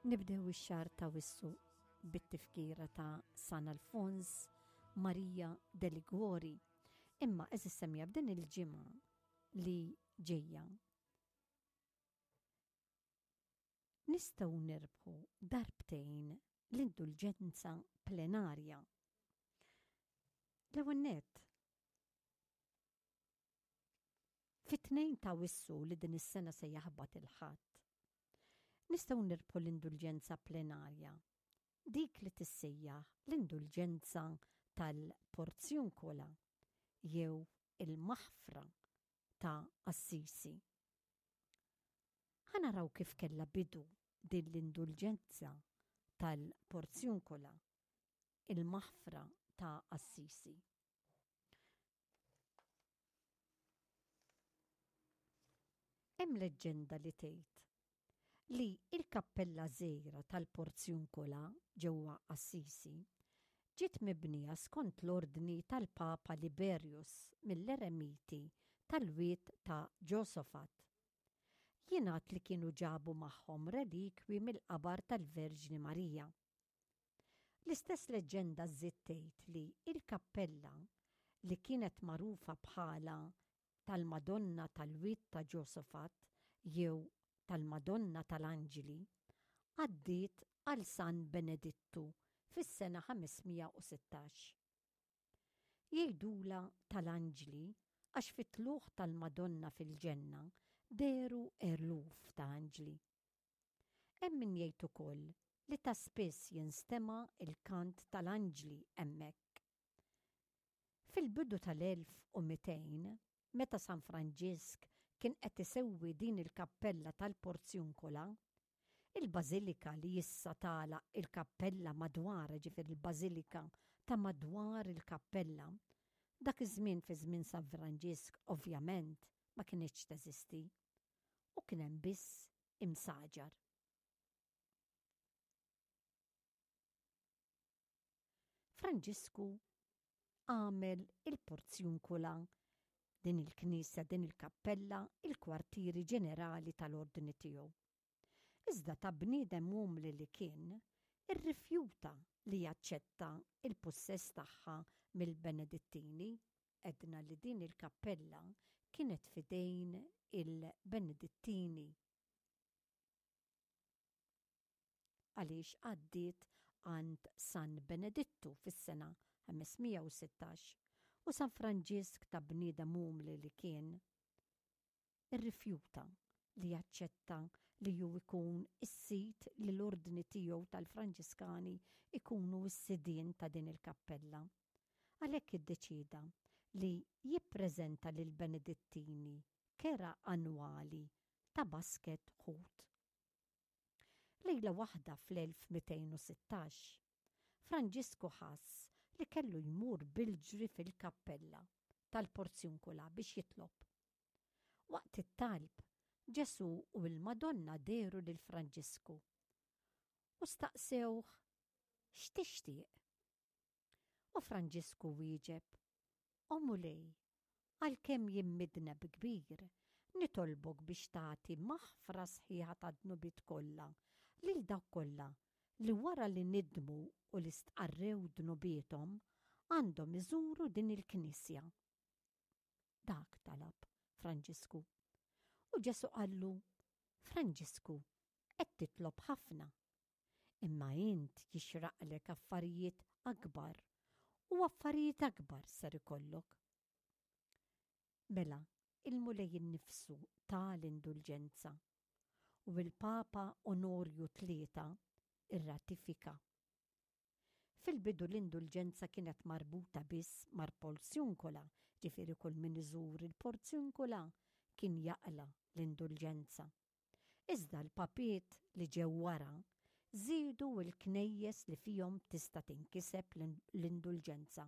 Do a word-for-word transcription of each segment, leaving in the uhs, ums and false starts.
Nibdew ix-xahar ta' Awwissu bit-tifkira ta' San Alfons Maria de Liguori. Imma għeżież semmiegħa, b'din il-ġimgħa li ġejja nistgħu nirbħu darbtejn l-indulġenza plenarja. L-ewwel nett, fit-tnejn ta' Awwissu li din is-sena se jaħbat il-Ħadd, nistgħu nirbħu l-indulġenza plenarja, dik li tissejjaħ l-indulġenza tal-Porzjunkola jew il-Maħfra ta' Assisi. Ħa naraw kif kellha bidu din l-indulġenza tal-Porzjunkola, il-Maħfra ta' Assisi. Hemm leġġenda li tgħid li l-kappella żgħira tal-Porzjunkola ġewwa Assisi ġiet mibnija skont l-ordni tal-Papa Liberius mill-eremiti tal-Wied ta' Ġosofat. Jingħad li kienu ġabu magħhom relikwi mill-qabar tal-Verġni Marija. L-istess leġġenda żżid tgħid li l-kappella, li kienet magħrufa bħala tal-Madonna tal-Wied ta' Ġosofat jew tal-Madonna tal-Anġli, għaddiet għal San Benedittu fis-sena ħames mija u sittax. Jgħidulha tal-Anġli għax fit-tlugħ tal-Madonna fil-ġenna dehru eluf ta' anġli. Hemm min jgħid ukoll li ta' spiss jinstema' l-kant tal-anġli hemmhekk. Fil-bidu tal-elf u mitejn, meta San Franġisk kien qed isewwi din il-kappella tal-Porzjunkola, il-bażilika li issa tagħlaq il-kappella madwarha, ġifieri l-bażilika ta' madwar il-kappella, dak iż-żmien fi żmien San Franġisk ovvjament ma kinitx teżisti u kien hemm biss imsaġar. Franġisku għamel il-Porzjunkola, din il-knisja, din il-kappella, il-kwartieri ġenerali tal-ordni tiegħu. Iżda ta' bniedem umli li kien, irrifjuta li jaċċetta l-pussess tagħha mill-Benedittini. Għedna li din il-kappella kienet f'idejn il-Benedittini għaliex għaddiet għand San Benedittu fis-sena ħames mija u sittax, u San Franġisk ta' bniedem umli li kien, irrifjuta li jaċċetta li hu jkun is-sid, li l-ordni tiegħu tal-Franġiskani jkunu s-sidien ta' din il-kappella. Għalhekk iddeċieda li jippreżenta lill-Benedittini kera annwali ta' basket ħut. Lejla waħda fl-elf mitejn u sittax, Franġisku ħass li kellu jmur bil-ġri fil-kappella tal-Porzjunkola biex jitlob. Waqt it-talb, Ġesù u l-Madonna dehru lil Franġisku u staqsewh x'tixtieq. U Franġisku wieġeb, O Mulej, għalkemm jien midneb kbir, nitolbok biex tagħti maħfra sħiħa tad-dnubiet kollha lil dawk kollha li wara li nidmu u li stqarrew dnubiethom għandhom iżuru din il-knisja. Dak talab Franġisku. U Ġesù qallu, Franġisku, qed titlob ħafna. Imma int jixraqlek affarijiet akbar u affarijiet akbar ser ikollok. Mela, il-Mulej innifsu ta l-indulġenza u l-Papa Onorju tlieta irratifika. Fil-bidu l-indulġenza kienet marbuta biss mar-Porzjunkola, ġifieri kull min iżur il-Porzjunkola kien jaqla' l-indulġenza. Iżda l-papiet li ġew wara żiedu l-knejjes li fihom tista' tinkiseb l-indulġenza.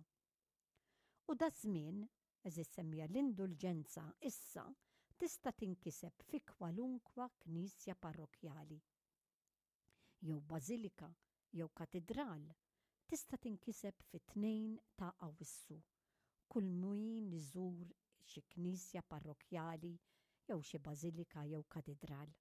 U daż-żmien, għeżież semmiegħa, l-indulġenza issa tista' tinkiseb fi kwalunkwa knisja parrokkjali, jew bażilika, jew katidral, tista' tinkiseb fit-tnejn ta' Awwissu, kull min iżur xi knisja parrokkjali jew xi bażilika jew katidral.